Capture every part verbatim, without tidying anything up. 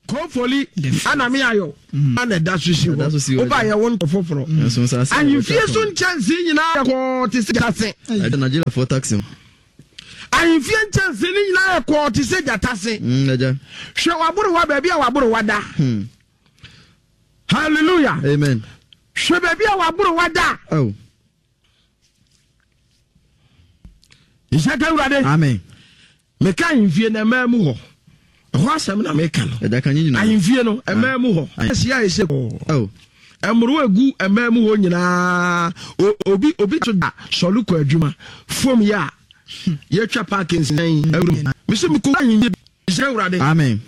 Kofoli ana me ayɔ ana ɛda so si hɔ. Woba yɛ wo ntɔ foforɔ. Ahemfie so nkyɛnsee nyinaa yɛ kɔɔ te sɛ gyatase. Nigeriafoɔ taxi. Ahemfie nkyɛnsee no nyinaa yɛ kɔɔ te sɛ gyatase. Hwɛ waborowa, baabi a waborowa da. Hallelujah. Amen. Hwɛ baabi a waborowa da. Oh. Nhyɛ ka Awurade. Amen. Meka ahemfie no ɛmaa mu hɔ, ɛhɔ asɛm na meka no. Ɛda ka nye nyinaa. Ahemfie no ɛmaa mu hɔ ɛsi a ɛsɛ Oh. ɛmoro egu ɛmaa mu hɔ nyinaa. O- obi obi to da sɔre kɔ adwuma fom yɛ a yɛtwa park nsɛn awuram mesi mekɔ ahemfie. Nhyɛ Awurade. Amen.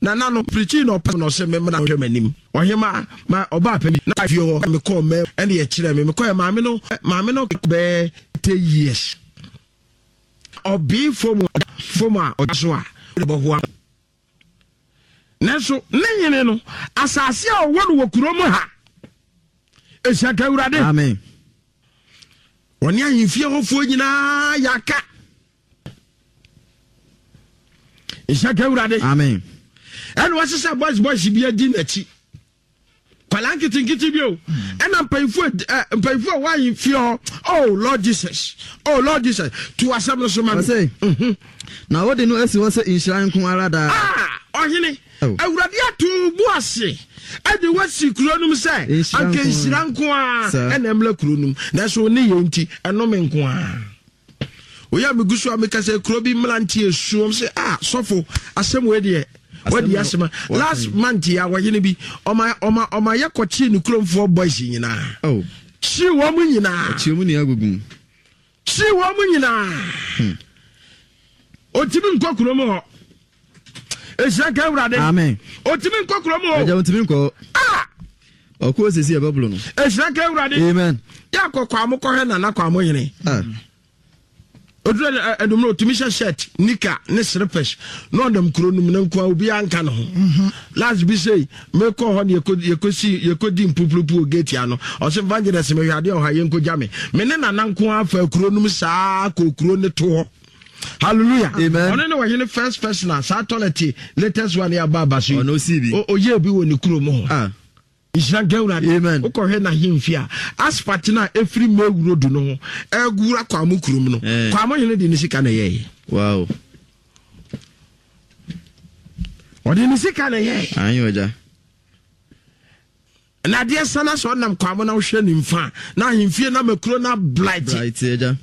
Nana no pirikyi na ɔpɛ na ɔsɛ memmra hwɛ m'anim. Ɔhema ma ɔbaa pɛ bi na fie hɔ mekɔɔ mɛ ɛne yɛkyerɛ me mekɔɛ maame no maame no bɛɛ ten years ɔbee fam fam a ɔda so a bɔhoa, nanso ne nyene no asase a ɔwɔ no wɔ kurom ha. Ɛhyɛ ka Awurade. Amen. Ɔne ahemfie hɔfoɔ nyinaa yɛaka. Ɛhyɛ ka Awurade. Amen. Ɛna wɔhyehyɛ boys boys bi adi n'akyi, kwalaa nketenkete bi o, ɛna mpanyinfoɔ ɛ mpanyinfoɔ a wɔayi fie hɔ. Oh Lord Jesus, oh Lord Jesus, to asɛm no so ma mi. Ɔsɛ na wode no asi hɔ sɛ nhyira nko ara daa. Ah, ɔhene. Oh. Awurade ato bu ase ɛde wasi kuro no mu sɛ Nhyira anka nko ara. Nhyira nko ara Saa. ɛna ɛmla kuro no mu, nanso ne yɛ nti ɛnome nko ara. Oyɛ megu so a meka sɛ kuro bi mmeranteɛ esuom sɛ, ah, sɔfo, asɛm wei deɛ wadi no, asɛm a waka last yi. Month yi a wɔyene bi ɔma ɔma ɔma yɛ kɔkyee ne kuromfoɔ boys nyinaa. Oh. Kyii wɔn mu nyinaa. Kyerɛ mu nea agugu mu. Kyii wɔn mu nyinaa. Otimi nkɔ kurom hɔ. Ehyia ka Awurade. Amen. Otimi nkɔ kurom hɔ. Agya, wontumi nkɔ. Ah. Ɔkɔ osisi ɛbɛbolo no. Ehyia ka Awurade. Amen. Yɛ akɔ kwamo kɔhwɛ nana kwamo yene. Ah. Oduro ɛnumere otumi hyɛ shirt, nika ne slippers na ɔnam kuro no mu ne nkoa, obiara nka ne ho. Last bi sei mekɔ hɔ ne yɛkɔ yɛkɔsi yɛkɔdi mpupurupu wɔ gate ano. Ɔsɛ evangelist, mehwɛ adeɛ ɔha yɛnkɔgya me me ne nana nko afa kuro no mu saa kɔ kuro ne to hɔ. Hallelujah. Amen. Ɔno ne wɔhene first person a saa toilet latest one yɛ aba aba so yi. Ɔno osii bi. O- oyɛɛ bi wɔ ne kuro mu hɔ. Ah. Nhyira nka Awurade. Amen. Wokɔhwɛ n'ahemfie a, asphalt no a ɛfiri mawuro du no ho ɛgura Kwamo kurom no, Eh. Kwamo hene de ne sika na ɛyɛeɛ. Wow. Ɔde ne sika na ɛyɛeɛ. Anyi ɔgya. Na adeɛ sana sɛ ɔnam Kwamo na wohwɛ ne mfa na ahemfie no ama kuro no ablight. Bright agya.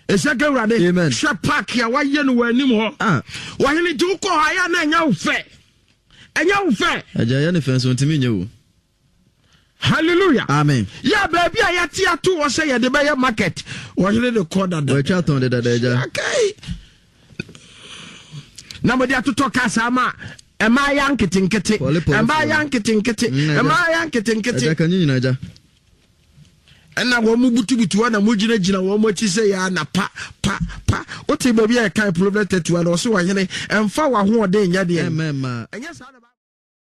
Ɛhyɛ ka Awurade. Amen. Hwɛ park a wayɛ no wɔ anim hɔ. Ah. Wɔhene nti wokɔ hɔ ayɛ na ɛnyɛ wo fɛ, ɛnyɛ wo fɛ. Agya, yɛ ne fɛn so ntumi nyɛ o. Hallelujah. Amen. Yɛ baabi a yɛte ato hɔ sɛ yɛde bɛyɛ market, wɔhene de kɔ dada. Wɔatwa tɔn de dada, agya. Okay. Na mode atotɔ kaa saa ma ɛmaa ya nketenkete. Pɔle pɔle ɛmaa ya foɔ. nketenkete. Mm, agya. Ɛmaa ya nketenkete. Agya, ka nye nyina, agya. Ɛna wɔn mu butubutu hɔ na mo gyinagyina wɔn mo akyi sɛ yɛ ana pa pa pa. Wote baabi a yɛkan Proverbs thirty one, ɔsɛ wɔhene ɛmfa w'ahoɔden nyɛ deɛ Ɛmɛ ma. ɛnyɛ saa na